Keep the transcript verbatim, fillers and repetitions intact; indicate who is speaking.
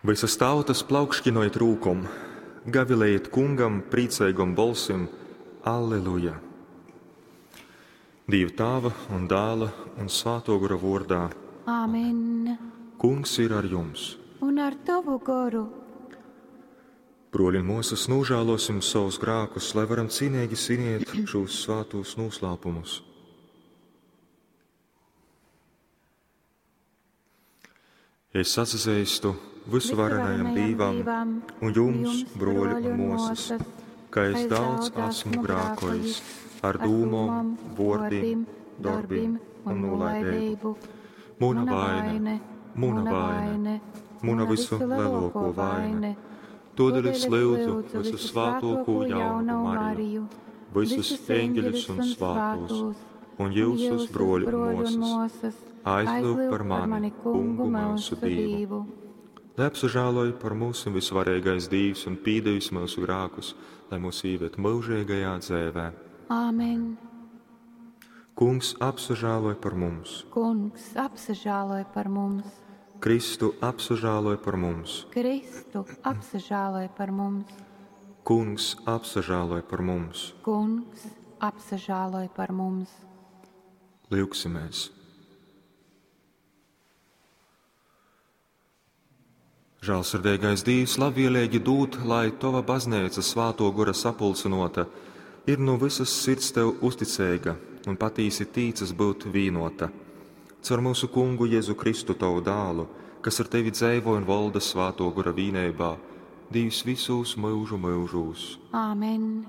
Speaker 1: Visas tautas plaukškinojit rūkom, gavilējiet kungam priecīgom bolsim. Alleluja! Dieva tēva un dēla un svēto gora vārdā.
Speaker 2: Āmen.
Speaker 1: Kungs ir ar jums!
Speaker 2: Un ar tavu goru.
Speaker 1: Broļi un māsas, nožēlosim savus grēkus, lai varam cienīgi svinēt šos svētos noslēpumus. Es atzīstu visuvarenajam Dievam un jums, broļi un māsas, ka es daudz esmu grēkojis ar dūmom, vārdiem, darbiem un nolaidību. Muna vaina, muna vaina, muna visu lielāko vaina. Todēļ es lūdzu visu svētāko jaunu Mariju, visus eņģeļus un svētos, un jūsus broļu un māsas, aizlūg par mani, kungu mūsu Dievu. Lai apsažāloj par mūsu visvarīgais Dievs un pīdevis mūsu grēkus, lai mūs ieved mūžīgajā dzēvē.
Speaker 2: Āmen.
Speaker 1: Kungs apsažāloj par mums.
Speaker 2: Kungs apsažāloj par mums.
Speaker 1: Kristu apsažāloj par mums.
Speaker 2: Kristu apsažāloj par mums.
Speaker 1: Kungs apsažāloj par mums.
Speaker 2: Kungs apsažāloj par mums.
Speaker 1: Lūksimies! Žēlsirdīgais Dievs, labvēlīgi dod, lai tava baznīca svāto gora sapulcinota, ir no visas sirds tev uzticīga un patīsi tīcas būt vīnota. Caur mūsu kungu Jēzu Kristu tavu dālu, kas ar tevi dzēvo un valda svāto gora vīnībā, Dievs visos mūžu mūžos.
Speaker 2: Āmen.